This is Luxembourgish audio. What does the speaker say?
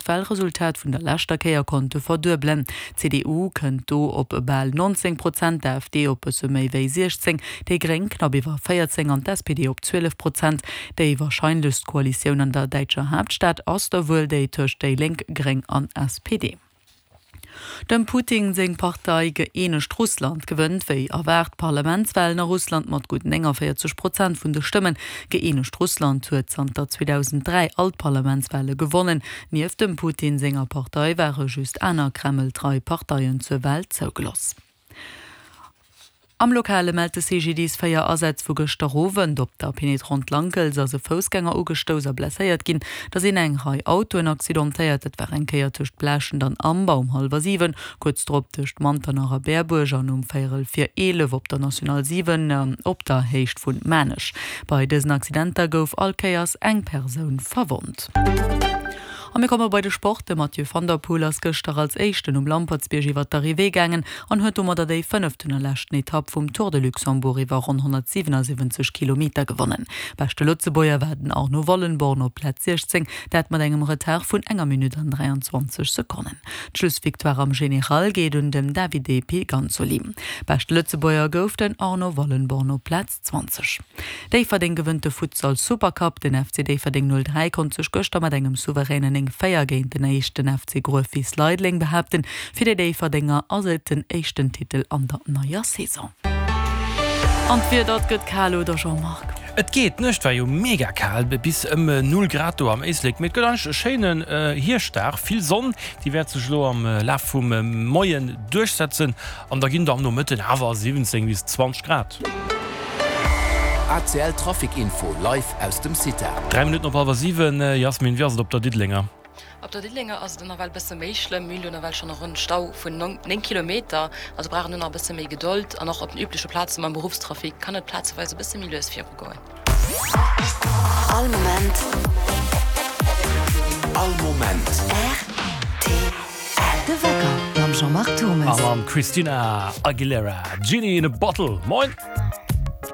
d'Walresultat vun der leschter Kéier konnte verduebelen. D'CDU kënnt do op bal 19 Prozent, d'AfD op bësse méi wéi 16, déi Gréng knapp iwwer 14 an d'SPD op 12 Prozent. Déi warscheinlechst Koalitioun an der däitscher Haaptstad ass da wuel déi tëscht déi Lénk, Gréng an SPD. Dem Putin seng Partei Gëeenegt Russland gewënnt wéi erwaart d'Parlamentswalen a Russland mat gutt 49 Prozent vun de Stëmmen. Gëeenegt Russland huet zanter 2003 all d'Parlamentswale gewonnen. Nieft dem Putin senger Partei ware just aner Kreml-trei Parteien zur Wal zougeloss. Am Lokale mellt de CGDIS 4 Asätz vu gëschter Owend. Op der Pénétrante Lankels ass e Foussgänger ugestouss a blesséiert ginn. Da sinn eng Rei Autoen accidentéiert. Dat war eng Kéier tëscht Blaaschent an Amber um hallwer 7, kuerz drop tëscht Manternach a Berbuerg an um véierel vir 11 op der National 7 op der Héicht vun Maarnech. Bei dësen Accidenter gouf all Kéiers eng Persoun verwonnt. A mir komme bei de Sport. De Mathieu van der Poel ass gëschter als éischten um Lampertsbierg iwwer d'Arrivée gaangen an huet domadder déi fënneften a leschten Etapp vum Tour de Luxembourg iwwer ronn 177 Kilometer gewonnen. Beschte Lëtzebuerger war den Arno Wallenborn op Plaz 16, dat mat engem Retard vun enger Minutt an 23 Sekonnen. D'Schlussvictoire am General geet un den Davide Piganzoli. Beschte Lëtzebuerger gouf den Arno Wallenborn op Plaz 20. Déifferdeng gewënnt de Futsal Supercup. Den FC Déifferdeng 03 konnt sech gëschter mat engem souveränen 9, 4 géint den éischten FC Gruefwiss Leideleng behaapten. Fir déi Déifferdenger ass et den éischten Titel an der neier Saison. An d'Wieder, et gëtt kal, oder Jean-Marc? Et geet, d'Nuecht war jo mega kal, bis ëm 0 Grad do am Éislek, mee et gëtt eigentlech e schéinen Hierschtdag, vill Sonn, déi wäert sech elo am Laf vum Moien duerchsetzen an da ginn der am Nomëtten awer 17 bis 20 Grad. ACL Trafic Info live aus dem CITA. 3 Minutten op hallwer 7, Jasmin, wéi ass et op der Diddelenger? Op der Diddelenger ass et nawell bësse méi schlëmm. Mir hunn do nawell schonn e ronn Stau vun 9 Kilometer. Also brauch een do nach e bësse méi Gedold. An och op den übleche Plaze mam Beruffstrafic kann et plazeweis e bësse méi lues virugoen. All Moment. All Moment. Rtl. De Wecker mam Jean-Marc Thommes. A mam Christina Aguilera, Genie in a Bottle. Moin!